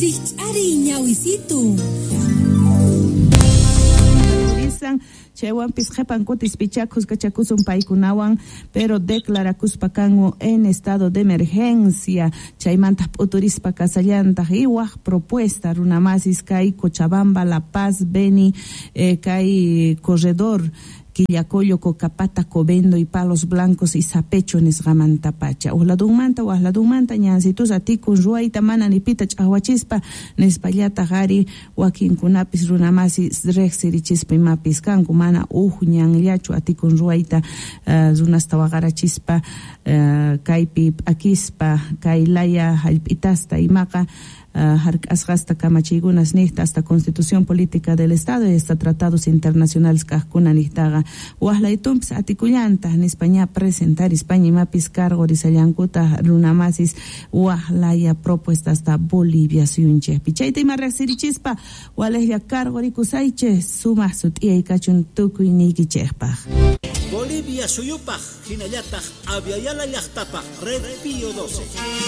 Rijch'ariy ñawisitu. Chaywanpis qhepan kutispichá khuskachakusun paykunawan, pero declarakuspa kanku en estado de emergencia. Chaymanta p'uturispa kasallantaq y waj propuesta runamasis kay Cochabamba, La Paz, Beni, kay corredor Quillacollo, Cocapata, Covendo y Palos Blancos y Sapecho nisqamantapacha. Ujladunmanta, wajladunmanta ñansitus atikun ruwayta mana ni pita ch'awachispa nispallataq ari wakinkunapis runamasi riqsirichispa imapis kanku mana uj ñanllachu atikun ruwayta runasta waqarachispa kaypi p'akispa kay laya hallp'itasta imaqa hark'asqasta kamachiykunas niqta hasta Constitución Política del Estado y hasta tratados internacionales kaqkuna niqtaqa waqlaytunpis atikullanta nispa ña presentarispaña imapis cargo risallankuta runamasis waqlaya propuestasta Bolivia suyunchikpi. Chayta ima riqsirichispa walejlla cargo rikusaychik sumaq sut'iyay kachun tukuy niykichikpaq. Bolivia suyupaj hinallataq Abya Yala llaqtapaj Red Pío 12.